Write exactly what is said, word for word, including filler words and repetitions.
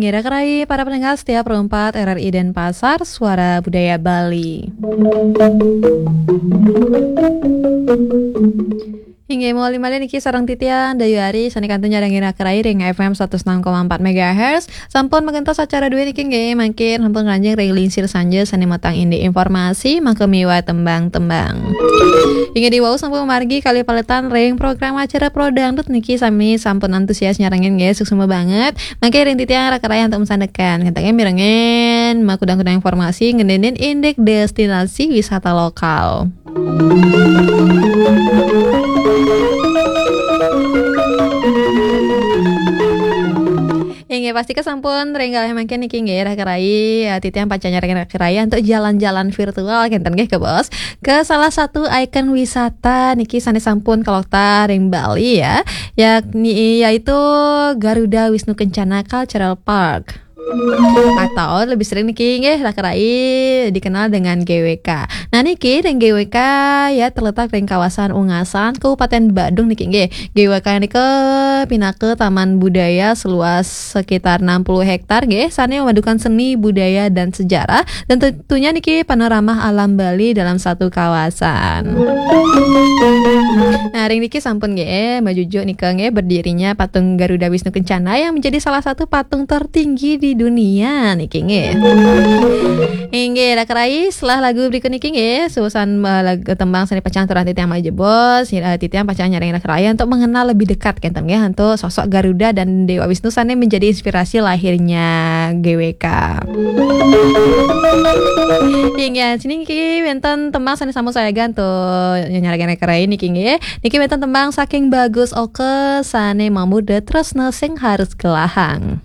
Raka rai para pendengar setia Pro empat R R I Denpasar, Suara Budaya Bali. Inggih, malih malih niki sareng titiang Dayu Ari sané kantun nyarengin raka rai ring F M satus enam koma empat megahertz. Sampun magentos acara dué niki nggih, mangkin sampun ngranjing ring lingsir sanja sané matang indik informasi, maka miwah tembang-tembang. Inggih, diwau sampun margi kalih paletan ring program acara Pro Dangdut niki, sami sampun antusias nyarengin nggih, suksma banget. Mangkin ring titiang raka rai antuk masandekan. Kantun nggih mirengin makudang-kudang informasi ngeninin indik destinasi wisata lokal. Inggih, pastika sampun ring galahé mangkin niki nggih, raka rai, ya, titiang pacang nyarengin raka rai antuk jalan-jalan virtual, kénten nggih, Bos, ke salah satu ikon wisata niki sané sampun kaloktah ring Bali, ya, yakni, yaitu Garuda Wisnu Kencana Cultural Park. Atau lebih sering niki nggih, raka rai, dikenal dengan G W K. Nah, niki ring G W K, ya, terletak ring kawasan Ungasan, Kabupaten Badung niki nggih. G W K nika pinaka taman budaya seluas sekitar enam puluh hektar nggih, sané memadukan seni, budaya, dan sejarah, dan tentunya niki panorama alam Bali dalam satu kawasan. Nah, ring niki sampun nggih, majujuk nika nggih, berdirinya patung Garuda Wisnu Kencana yang menjadi salah satu patung tertinggi di dunia niki nggih. Inggih, raka rai, setelah lagu berikut niki nggih, susunan, eh, lagu tembang sané pacang aturang titiang malih jebos, eh, titiang pacang nyarengin raka rai antuk mengenal lebih dekat, kénten nggih, antuk sosok Garuda dan Dewa Wisnu sané menjadi inspirasi lahirnya G W K. Inggih, sini niki wénten tembang sané sampun sayaga antuk nyarengin raka rai niki nggih. Niki wénten tembang saking Bagus Oka sané mamurda Tresna Sing Harus Gelahang.